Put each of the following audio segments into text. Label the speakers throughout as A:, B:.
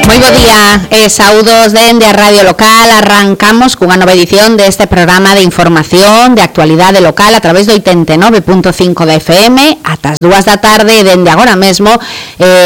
A: Moi bo día e saúdos dende a Radio Local. Arrancamos cunha nova edición deste programa de información de actualidade local a través do 89.5 da FM ata as 2 da tarde. Dende agora mesmo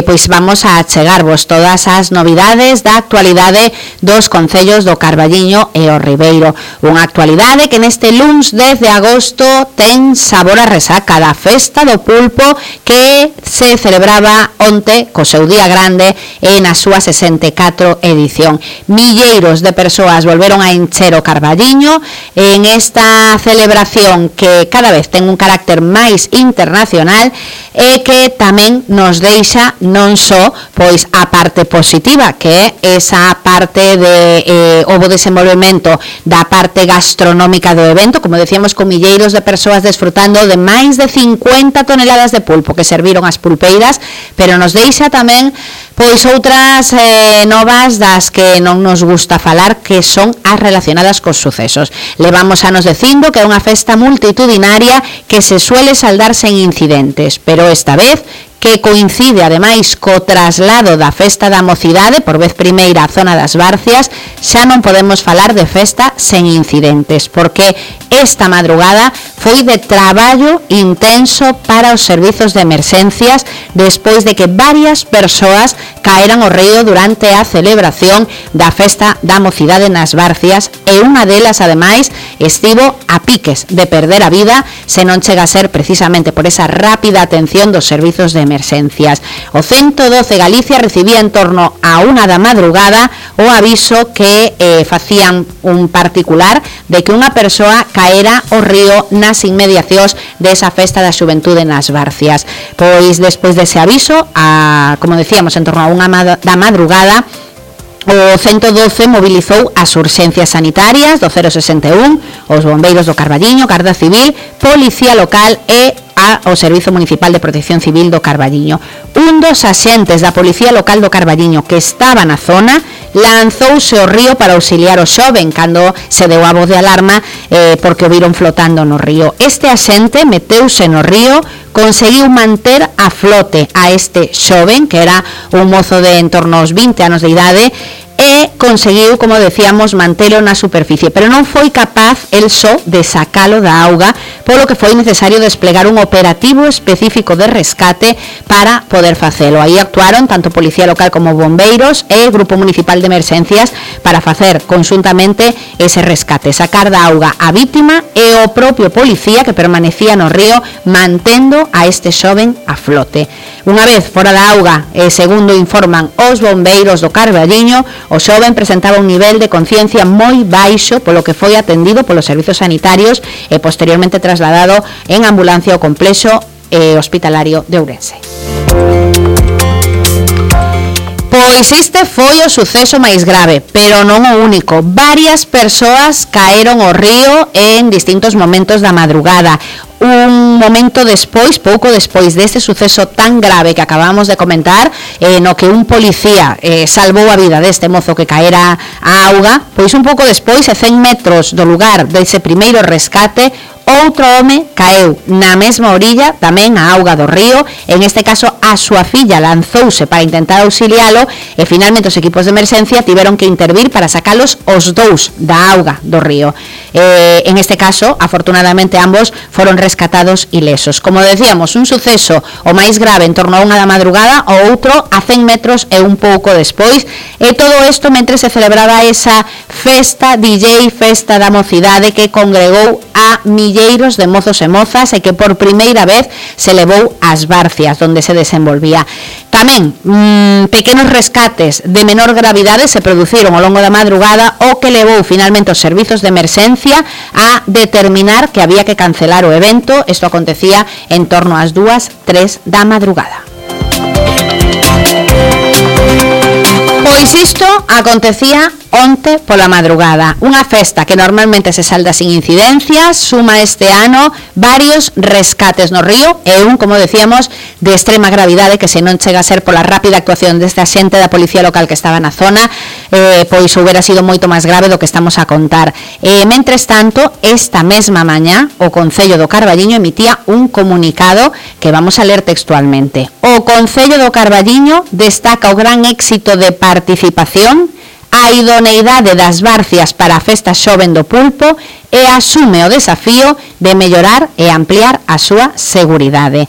A: pois vamos a chegarvos todas as novidades da actualidade dos concellos do Carballiño e o Ribeiro. Unha actualidade que neste luns 10 de agosto ten sabor a resaca da Festa do Pulpo que se celebraba onte co seu día grande e na súa 64 edición. Milleiros de persoas volveron a encher o Carballiño en esta celebración que cada vez ten un carácter máis internacional e que tamén nos deixa non só pois a parte positiva, que é esa parte de o desenvolvemento da parte gastronómica do evento, como decíamos, con milleiros de persoas desfrutando de máis de 50 toneladas de pulpo que serviron as pulpeiras, pero nos deixa tamén pois outras novas das que non nos gusta falar, que son as relacionadas cos sucesos. Levamos anos dicindo que é unha festa multitudinaria que se suele saldar sen incidentes, pero esta vez que coincide ademais co traslado da Festa da Mocidade por vez primeira á zona das Barcias, xa non podemos falar de festa sen incidentes, porque esta madrugada foi de traballo intenso para os servizos de emerxencias despois de que varias persoas caeran ao río durante a celebración da Festa da Mocidade nas Barcias, e unha delas ademais estivo a piques de perder a vida se non chega a ser precisamente por esa rápida atención dos servizos de emerxencias. O 112 Galicia recibía en torno a 1 da madrugada o aviso que facían un particular de que unha persoa caera ao río nas inmediacións desa Festa da Xuventude nas Barcias. Pois despois dese aviso, como decíamos, en torno a 1 da madrugada, o 112 mobilizou as urxencias sanitarias do 061, os bombeiros do Carballiño, Garda Civil, Policía Local e o Servizo Municipal de Protección Civil do Carballiño. Un dos axentes da Policía Local do Carballiño que estaba na zona lanzouse ao río para auxiliar o xoven cando se deu a voz de alarma porque o viron flotando no río. Este axente meteuse no río, conseguiu manter a flote a este xoven, que era un mozo de en torno aos 20 anos de idade, e conseguiu, como decíamos, mantelo na superficie, pero non foi capaz el só de sacalo da auga, polo que foi necesario desplegar un operativo específico de rescate para poder facelo. Aí actuaron tanto Policía Local como bombeiros e o Grupo Municipal de Emerxencias para facer conxuntamente ese rescate, sacar da auga a vítima e o propio policía que permanecía no río mantendo a este xoven a flote. Unha vez fora da auga, segundo informan os bombeiros do Carballiño, o xoven presentaba un nivel de conciencia moi baixo, polo que foi atendido polos servizos sanitarios e posteriormente trasladado en ambulancia ao complexo hospitalario de Ourense. Pois este foi o suceso máis grave, pero non o único. Varias persoas caeron ao río en distintos momentos da madrugada. Un momento despois, pouco despois deste suceso tan grave que acabamos de comentar, no que un policía salvou a vida deste mozo que caera á auga, pois un pouco despois, a 100 metros do lugar dese primeiro rescate, outro home caeu na mesma orilla, tamén a auga do río. En este caso, a súa filla lanzouse para intentar auxilialo e finalmente os equipos de emerxencia tiveron que intervir para sacalos os dous da auga do río. En este caso, afortunadamente, ambos foron rescatados ilesos. Como decíamos, un suceso o máis grave en torno a 1 da madrugada, o outro a 100 metros e un pouco despois, e todo isto mentre se celebraba esa festa DJ, Festa da Mocidade, que congregou a milleiros de mozos e mozas e que por primeira vez se levou ás Barcias, onde se desenvolvía. Tamén pequenos rescates de menor gravidade se produciron ao longo da madrugada, o que levou finalmente os servizos de emerxencia a determinar que había que cancelar o evento. Isto acontecía en torno ás 2-3 da madrugada. Pois isto acontecía onte pola madrugada. Unha festa que normalmente se salda sin incidencias, suma este ano varios rescates no río e un, como decíamos, de extrema gravidade que se non chega a ser pola rápida actuación desta xente da policía local que estaba na zona, pois houbera sido moito máis grave do que estamos a contar. Mentres tanto, esta mesma mañá, o Concello do Carballiño emitía un comunicado que vamos a ler textualmente. O Concello do Carballiño destaca o gran éxito de participación, a idoneidade das Barcias para a festa xoven do Pulpo e asume o desafío de mellorar e ampliar a súa seguridade.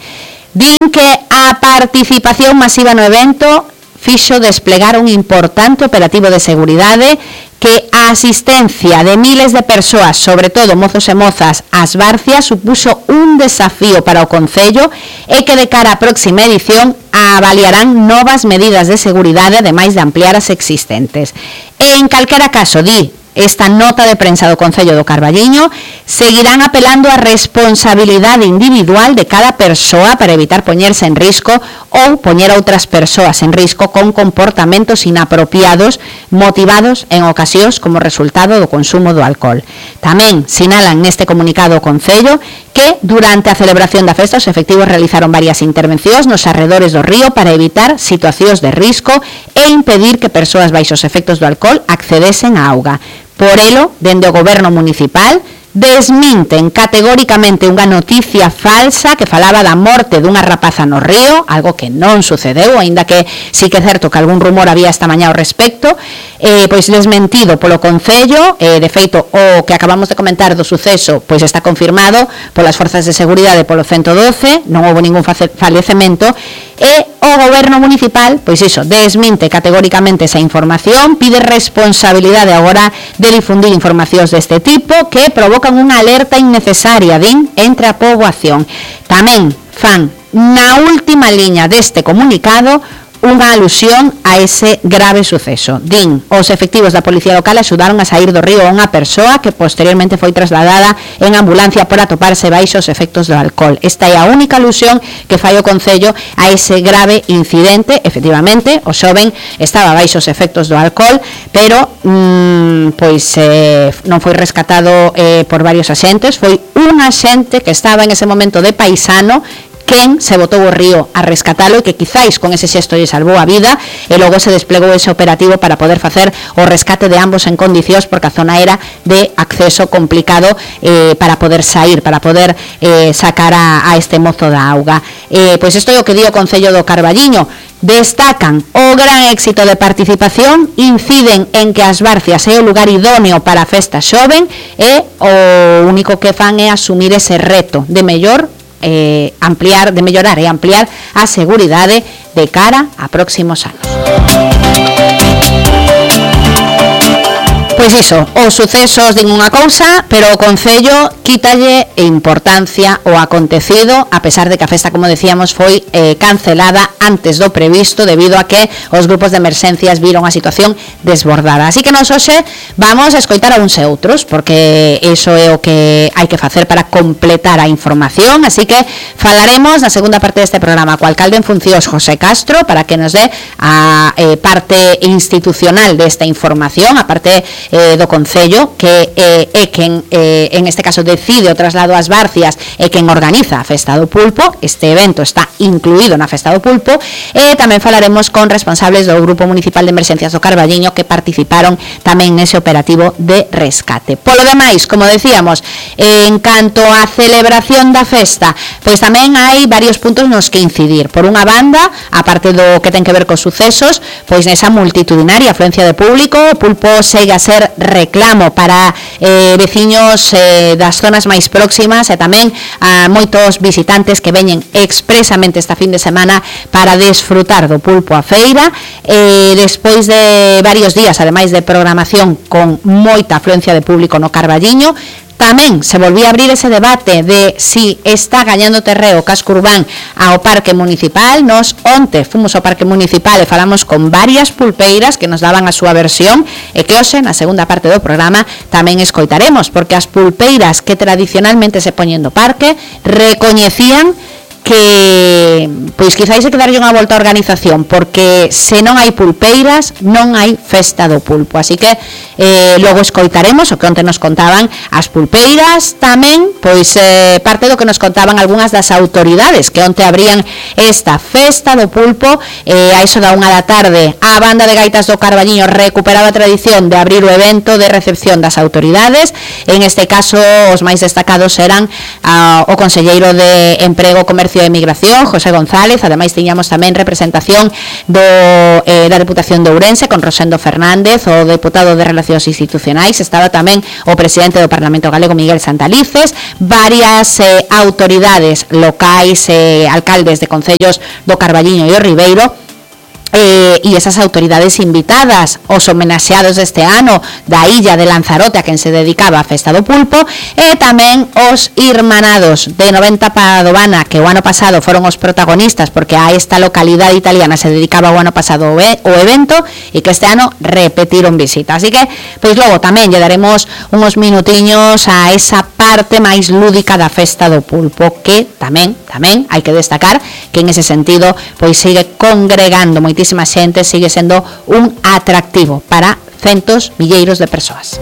A: Din que a participación masiva no evento fixo desplegar un importante operativo de seguridade, que a asistencia de miles de persoas, sobre todo mozos e mozas, ás Barcias, supuxo un desafío para o Concello e que de cara á próxima edición avaliarán novas medidas de seguridade, ademais de ampliar as existentes. En calquera caso, di esta nota de prensa do Concello do Carballiño, seguirán apelando á responsabilidade individual de cada persoa para evitar poñerse en risco ou poñer a outras persoas en risco con comportamentos inapropiados motivados en ocasións como resultado do consumo do alcohol. Tamén sinalan neste comunicado o Concello que durante a celebración da festa os efectivos realizaron varias intervencións nos arredores do río para evitar situacións de risco e impedir que persoas baixos efectos do alcohol accedesen á auga. Por elo, dende o goberno municipal, desminten categóricamente unha noticia falsa que falaba da morte dunha rapaza no río, algo que non sucedeu, aínda que sí que é certo que algún rumor había esta mañá ao respecto, pois desmentido polo Concello. De feito, o que acabamos de comentar do suceso pois está confirmado polas forzas de seguridade polo 112, non houve ningún falecemento, e o goberno municipal, pois iso, desminte categóricamente esa información, pide responsabilidade agora de difundir informacións deste tipo que provocan unha alerta innecesaria, din, entre a poboación. Tamén fan na última liña deste comunicado unha alusión a ese grave suceso. Din, os efectivos da policía local axudaron a sair do río a unha persoa que posteriormente foi trasladada en ambulancia por atoparse baixo os efectos do alcohol. Esta é a única alusión que fai o Concello a ese grave incidente. Efectivamente, o xoven estaba baixo os efectos do alcohol, pero pois non foi rescatado por varios axentes, foi un axente que estaba en ese momento de paisano quen se botou o río a rescatalo e que quizáis con ese xesto lle salvou a vida, e logo se desplegou ese operativo para poder facer o rescate de ambos en condicións, porque a zona era de acceso complicado para poder sair, para poder sacar a este mozo da auga. Pois isto é o que di o Concello do Carballiño. Destacan o gran éxito de participación, inciden en que as Barcias é o lugar idóneo para a festa xoven e o único que fan é asumir ese reto de mellorar e ampliar a seguridade de cara a próximos anos. Pois iso, os sucesos din unha cousa, pero o Concello quítalle importancia ao acontecido, a pesar de que a festa, como decíamos, foi cancelada antes do previsto debido a que os grupos de emerxencias viron a situación desbordada. Así que nos hoxe vamos a escoitar a uns e outros, porque iso é o que hai que facer para completar a información. Así que falaremos na segunda parte deste programa co alcalde en funcións, José Castro, para que nos dé a parte institucional desta información, a parte do Concello, que é quen en este caso decide o traslado ás Barcias e quen organiza a Festa do Pulpo. Este evento está incluído na Festa do Pulpo, e tamén falaremos con responsables do Grupo Municipal de Emerxencias do Carballiño que participaron tamén nese operativo de rescate. Polo demais, como decíamos, en canto á celebración da festa, pois tamén hai varios puntos nos que incidir. Por unha banda, a parte do que ten que ver cos sucesos, pois nesa multitudinaria afluencia de público, o Pulpo segue a ser reclamo para veciños das zonas máis próximas e tamén a moitos visitantes que veñen expresamente esta fin de semana para desfrutar do Pulpo a feira. Despois de varios días, ademais de programación con moita afluencia de público no Carballiño, tamén se volvía a abrir ese debate de si está gañando terreo o casco urbán ao Parque Municipal. Nos onte fomos ao Parque Municipal e falamos con varias pulpeiras que nos daban a súa versión, e que hoxe na segunda parte do programa tamén escoitaremos, porque as pulpeiras que tradicionalmente se poñen no parque recoñecían que pois quizáis se quedarlle unha volta á organización, porque se non hai pulpeiras non hai festa do pulpo, así que logo escoitaremos o que onte nos contaban as pulpeiras, tamén pois parte do que nos contaban algunhas das autoridades que onte abrían esta festa do pulpo. A iso da 1 da tarde a banda de gaitas do Carballiño recuperaba a tradición de abrir o evento de recepción das autoridades. En este caso os máis destacados eran o conselleiro de Emprego, Comercio e Emigración, José González. Ademais tiñamos tamén representación da Deputación de Ourense con Rosendo Fernández, o deputado de Relacións Institucionais, estaba tamén o presidente do Parlamento Galego, Miguel Santalices, varias autoridades locais, alcaldes de concellos do Carballiño e o Ribeiro, e esas autoridades invitadas, os homenaxeados deste ano da illa de Lanzarote a quen se dedicaba a festa do pulpo, e tamén os irmanados de 90 Padovana, que o ano pasado foron os protagonistas porque a esta localidade italiana se dedicaba o ano pasado o evento, e que este ano repetiron visita. Así que, pois logo tamén lle daremos uns minutiños a esa parte máis lúdica da festa do pulpo, que tamén hai que destacar que en ese sentido pois sigue congregando moitísima xente, sigue sendo un atractivo para centos, milleiros de persoas.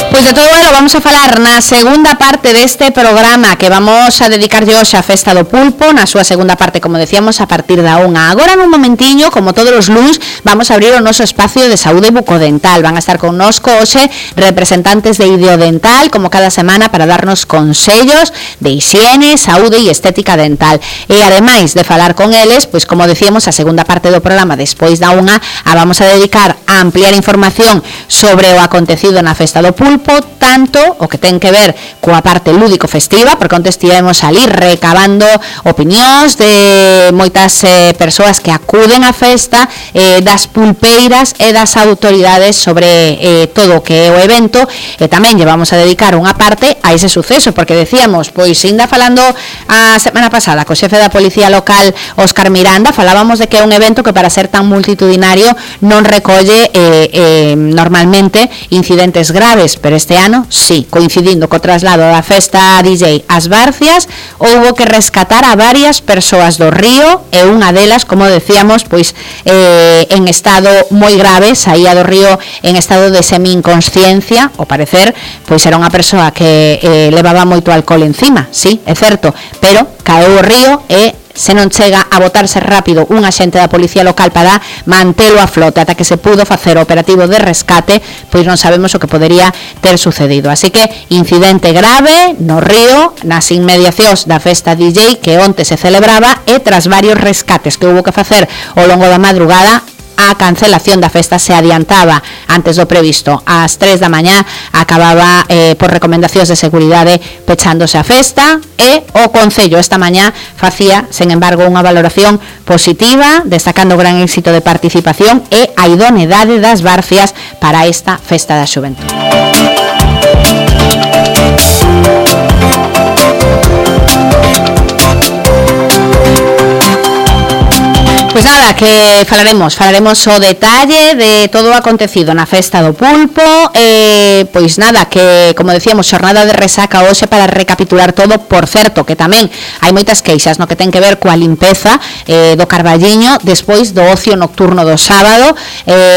A: Pois de todoelo vamos a falar na segunda parte deste programa, que vamos a dedicarlle hoxe a festa do pulpo, na súa segunda parte, como decíamos, a partir da 1. Agora, nun momentiño, como todos os luns, vamos a abrir o noso espacio de saúde bucodental. Van a estar connosco hoxe representantes de Ideodental, como cada semana, para darnos consellos de hixiene, saúde e estética dental. E ademais de falar con eles, pois como decíamos, a segunda parte do programa, despois da 1, a vamos a dedicar a ampliar información sobre o acontecido na festa do pulpo, tanto o que ten que ver coa parte lúdico festiva, porque onte estivemos ali recabando opinións de moitas persoas que acuden á festa, das pulpeiras e das autoridades sobre todo o que é o evento, e tamén llevamos a dedicar unha parte a ese suceso, porque decíamos, pois ainda falando a semana pasada co xefe da Policía Local, Óscar Miranda, falábamos de que é un evento que para ser tan multitudinario non recolle normalmente incidentes graves, pero este ano, sí, coincidindo co traslado da festa DJ ás Barcias, houbo que rescatar a varias persoas do río, e unha delas, como decíamos, pois en estado moi grave, saía do río en estado de semi-inconsciencia, ao parecer, pois era unha persoa que levaba moito alcohol encima, sí, é certo, pero caeu o río e se non chega a botarse rápido un axente da Policía Local para mantelo a flote ata que se pudo facer o operativo de rescate, pois non sabemos o que podería ter sucedido. Así que incidente grave no río, nas inmediacións da festa DJ que onte se celebraba, e tras varios rescates que houbo que facer ao longo da madrugada, a cancelación da festa se adiantaba antes do previsto. Ás 3 da mañá acababa por recomendacións de seguridade pechándose a festa, e o Concello esta mañá facía, sen embargo, unha valoración positiva, destacando o gran éxito de participación e a idoneidade das Barcias para esta festa da xuventude. Pois nada, que falaremos o detalle de todo o acontecido na festa do pulpo, pois nada, que como decíamos, xornada de resaca hoxe para recapitular todo. Por certo, que tamén hai moitas queixas no que ten que ver coa limpeza do Carballiño despois do ocio nocturno do sábado,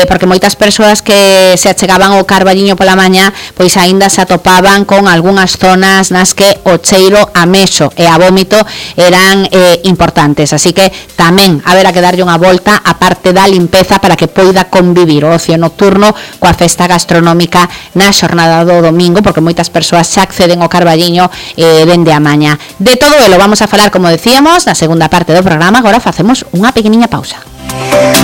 A: porque moitas persoas que se achegaban ao Carballiño pola mañá, pois aínda se atopaban con algunhas zonas nas que o cheiro a mexo e a vómito eran importantes, así que tamén haberá que darlle unha volta a parte da limpeza para que poida convivir o ocio nocturno coa festa gastronómica na xornada do domingo, porque moitas persoas xa acceden ao Carballiño dende a mañá. De todo elo vamos a falar, como decíamos, na segunda parte do programa. Agora facemos unha pequeniña pausa.